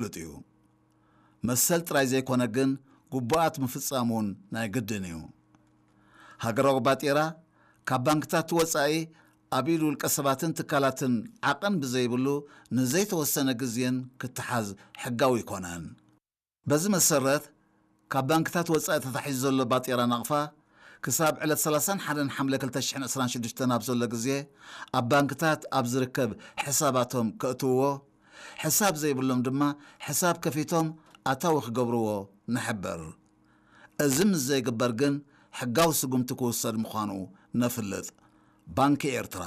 ፍሉጥ እዩ። መሰል ጥራይ ዘይኮነ ግን ግቡኣት ምፍጻም እውን ናይ ግድን እዩ። ሃገራዊ ባጤራ ካብ ባንክታት ወጻኢ ኣብ ኢድ ውልቀ ሰባትን ትካላትን ዓቐን ብዘይብሉ ንዘይተወሰነ ግዜን ክተሓዝ ሕጋዊ ኣይኮነን። በዚ መሰረት ካብ ባንክታት ወጻኢ ተታሒዙ ዘሎ ባጤራ ናቕፋ ክሳብ ዕለት ሰላሳን ሓደን ሓምለ ክልተ ሽሕን ዕስራን ሽዱሽተን ኣብ ዘሎ ግዜ ኣብ ባንክታት ኣብ ዝርከብ ሕሳባቶም ከእትውዎ፣ ሕሳብ ዘይብሎም ድማ ሕሳብ ከፊቶም ኣታዊ ክገብርዎ ንሕብር። እዚ ምስ ዘይግበር ግን ሕጋዊ ስጉምቲ ክውሰድ ምዃኑ ነፍልጥ። ባንኪ ኤርትራ።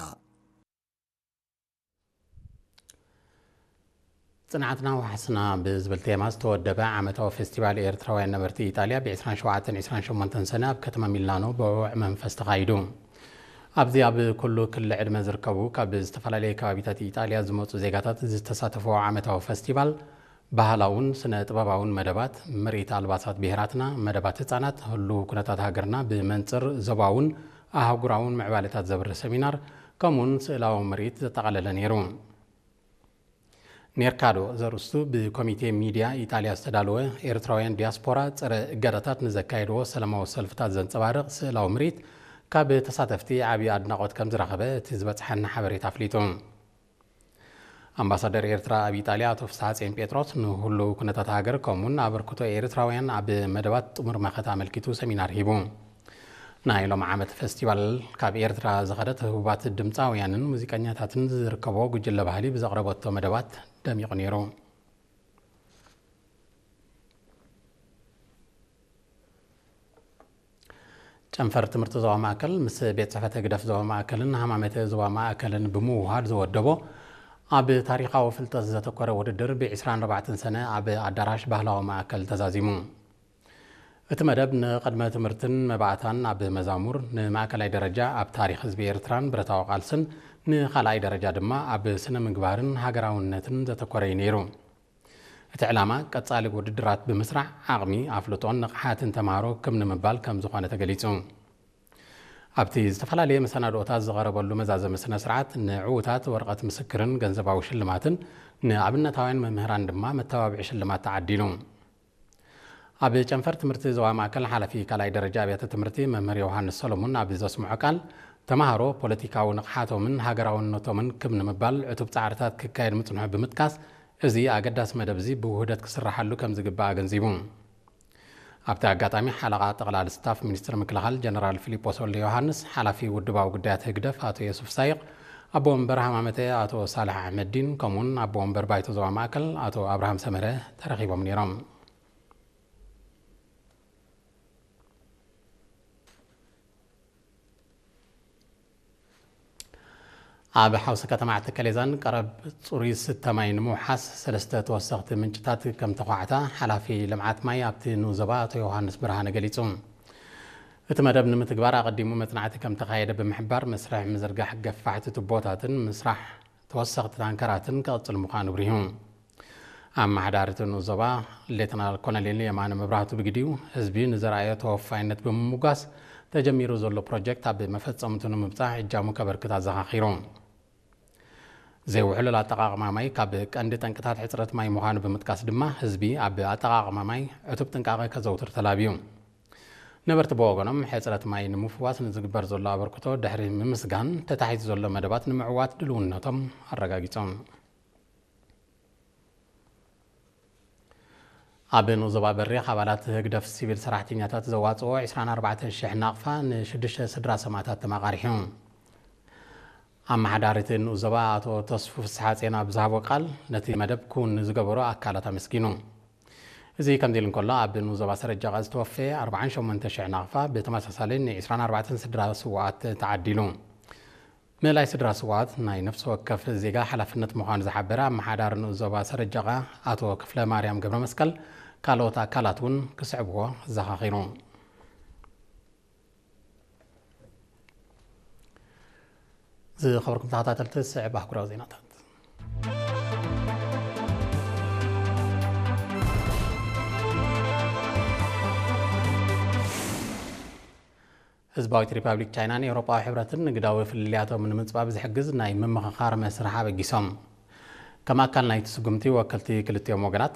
ጽንዓትና ዋሕስና ብዝብል ቴማ ዝተወደበ ዓመታዊ ፌስቲቫል ኤርትራውያን ነበርቲ ኢጣልያ ብ ዕስራን ሸውዓተን ዕስራን ሸሞንተን ሰነ ኣብ ከተማ ሚላኖ ብውዕ መንፈስ ተኻይዱ። ኣብዚ ኣብ ኩሉ ክሊ ዕድመ ዝርከቡ ካብ ዝተፈላለየ ከባቢታት ኢጣልያ ዝመጹ ዜጋታት ዝተሳተፍዎ ዓመታዊ ፈስቲቫል፣ ባህላውን ስነ ጥበባውን መደባት፣ ምርኢት ኣልባሳት ብሄራትና፣ መደባት ህጻናት፣ ህሉው ኩነታት ሃገርና ብመንጽር ዞባውን ኣህጉራውን ምዕባለታት ዘብርህ ሰሚናር፣ ከምኡውን ስእላዊ ምርኢት ዘጠቓለለ ነይሩ። ኔርካዶ ዘርእስቱ ብኮሚቴ ሚድያ ኢጣልያ ዝተዳለወ ኤርትራውያን ዲያስፖራ ጸረ እገዳታት ንዘካየድዎ ሰላማዊ ሰልፍታት ዘንጸባርቕ ስእላዊ ምርኢት ካብ ተሳተፍቲ ዓቢ ኣድናቖት ከም ዝረኸበ እቲ ዝበጽሓና ሓበሬታ ኣፍሊጡ። ኣምባሳደር ኤርትራ ኣብ ኢጣልያ ኣቶ ፍስሓጽዮን ጴጥሮስ ንህሉው ኩነታት ሃገር ከምኡውን ኣበርክቶ ኤርትራውያን ኣብ መደባት ጥሙር መኸተ ኣመልኪቱ ሰሚናር ሂቡ። ናይ ሎም ዓመት ፈስቲቫል ካብ ኤርትራ ዝኸደት ህቡባት ድምጻውያንን ሙዚቀኛታትን ዝርከቦ ጉጅለ ባህሊ ብዘቕረበቶ መደባት ደሚቑ ነይሩ። ጨንፈር ትምህርቲ ዞባ ማእከል ምስ ቤት ጽሕፈት ህግደፍ ዞባ ማእከልን ሃማመተ ዞባ ማእከልን ብምውሃድ ዝወደቦ ኣብ ታሪኻዊ ፍልጠት ዘተኮረ ውድድር ብ ዕስራን ኣርባዕተን ሰነ ኣብ ኣዳራሽ ባህላዊ ማእከል ተዛዚሙ። እቲ መደብ ንቕድመ ትምህርትን መባእታን ኣብ መዛሙር፣ ንማእከላይ ደረጃ ኣብ ታሪኽ ህዝቢ ኤርትራን ብረታዊ ቃልስን፣ ንኻልኣይ ደረጃ ድማ ኣብ ስነ ምግባርን ሃገራውነትን ዘተኮረ እዩ ነይሩ። እቲ ዕላማ ቀጻሊ ውድድራት ብምስራዕ ዓቕሚ፣ ኣፍልጦን ንቕሓትን ተማሃሮ ክም ንምባል ከም ዝኾነ ተገሊጹ። ኣብቲ ዝተፈላለየ መሰናድኦታት ዝቐረበሉ መዛዘሚ ስነ ስርዓት ንዕዉታት ወረቐት ምስክርን ገንዘባዊ ሽልማትን፣ ንኣብነታውያን መምህራን ድማ መተባብዒ ሽልማት ተዓዲሉ። ኣብ ጨንፈር ትምህርቲ ዞባ ማእከል ሓላፊ ካልኣይ ደረጃ ኣብያተ ትምህርቲ መምህር ዮሃንስ ሰሎሙን ኣብ ዘስምዖ ቃል፣ ተማሃሮ ፖለቲካዊ ንቕሓቶምን ሃገራውነቶምን ክብ ንምባል ዕቱብ ጻዕርታት ክካየድ ምጽንሑ ብምጥቃስ፣ እዚ ኣገዳሲ መደብ እዚ ብውህደት ክስራሓሉ ከም ዝግባእ ኣገንዚቡ። ኣብቲ ኣጋጣሚ ሓለቓ ጠቕላሊ ስታፍ ሚኒስትሪ ምክልኻል ጀነራል ፊሊጶስ ወልደ ዮሃንስ፣ ሓላፊ ውድባዊ ጉዳያት ህግደፍ ኣቶ የሱፍ ሳይቕ፣ ኣቦ ወንበር ሃማመተ ኣቶ ሳልሕ ኣሕመዲን፣ ከምኡውን ኣቦ ወንበር ባይቶ ዞባ ማእከል ኣቶ ኣብርሃም ሰመረ ተረኺቦም ነይሮም። ኣብ ሓውሲ ከተማ ዓዲ ከሌዛን ቀረብ ጽሩይ ዝስተ ማይ ንምውሓስ ሰለስተ ተወሰኽቲ ምንጭታት ከም ተዃዕታ ሓላፊ ልምዓት ማይ ኣብቲ ንኡስ ዞባ ኣቶ ዮሃንስ ብርሃነ ገሊጹ። እቲ መደብ ንምትግባር ኣቐዲሙ መጽናዕቲ ከም ተኻየደ ብምሕባር፣ መስርሕ ምዝርጋሕ ገፋሕቲ ቱቦታትን ምስራሕ ተወሰኽቲ ታንከራትን ክቕጽል ምዃኑ ኣብሪሁ። ኣመሓዳሪ እቲ ንኡስ ዞባ ሌተናል ኮሎኔል የማነ መብራህቱ ብግዲኡ፣ ህዝቢ ንዘርኣዮ ተወፋይነት ብምምጓስ፣ ተጀሚሩ ዘሎ ፕሮጀክት ኣብ መፈጸምቱ ንምብጻሕ እጃሙ ከበርክት ኣዘኻኺሩ። ዘይውሕሉል ኣጠቓቕማ ማይ ካብ ቀንዲ ጠንቅታት ሕጽረት ማይ ምዃኑ ብምጥቃስ ድማ፣ ህዝቢ ኣብ ኣጠቓቕማ ማይ ዕቱብ ጥንቃቐ ከዘውትር ተላብዩ። ነበርቲ ብወገኖም፣ ሕጽረት ማይ ንምፍዋስ ንዝግበር ዘሎ ኣበርክቶ ድሕሪ ምምስጋን፣ ተታሒዙ ዘሎ መደባት ንምዕዋት ድልውነቶም ኣረጋጊጾም። ኣብ ንኡስ ዞባ በሪኽ፣ ኣባላት ህግደፍ ሲቪል ሰራሕተኛታት ዘዋጽኦ ዕስራን ኣርባዕተን ሽሕ ናቕፋ ንሽዱሽተ ስድራ ሰማእታት ተመቓሪሑ። ኣመሓዳሪ እቲ ንኡስ ዞባ ኣቶ ተስፉ ፍስሓጽዮን ኣብ ዝሃቦ ቃል፣ ነቲ መደብ ክውን ንዝገበሩ ኣካላት ኣመስጊኑ። እዚ ከምዚ ኢሉ እንከሎ፣ ኣብ ንኡስ ዞባ ሰረጀቓ ዝተወፈየ ኣርባዓን ሸሞንተ ሽሕ ናቕፋ ብተመሳሳሊ ን ዕስራን ኣርባዕተን ስድራ ስውኣት ተዓዲሉ። ምእላይ ስድራ ስውኣት ናይ ነፍሲ ወከፍ ዜጋ ሓላፍነት ምዃኑ ዝሓበረ ኣመሓዳሪ ንኡስ ዞባ ሰረጀቓ ኣቶ ክፍለ ማርያም ገብረ መስቀል፣ ካልኦት ኣካላት እውን ክስዕብዎ ኣዘኻኺሩ። ዝኸበርኩም ተኸታተልቲ፣ ዝስዕብ ኣህጉራዊ ዜናታት። ህዝባዊት ሪፓብሊክ ቻይናን ኤውሮጳዊ ሕብረትን ንግዳዊ ፍልልያቶም ንምጽባብ ዝሕግዝ ናይ ምምኽኻር መስርሕ ኣበጊሶም። ከም ኣካል ናይቲ ስጉምቲ፣ ወከልቲ ክልቲኦም ወገናት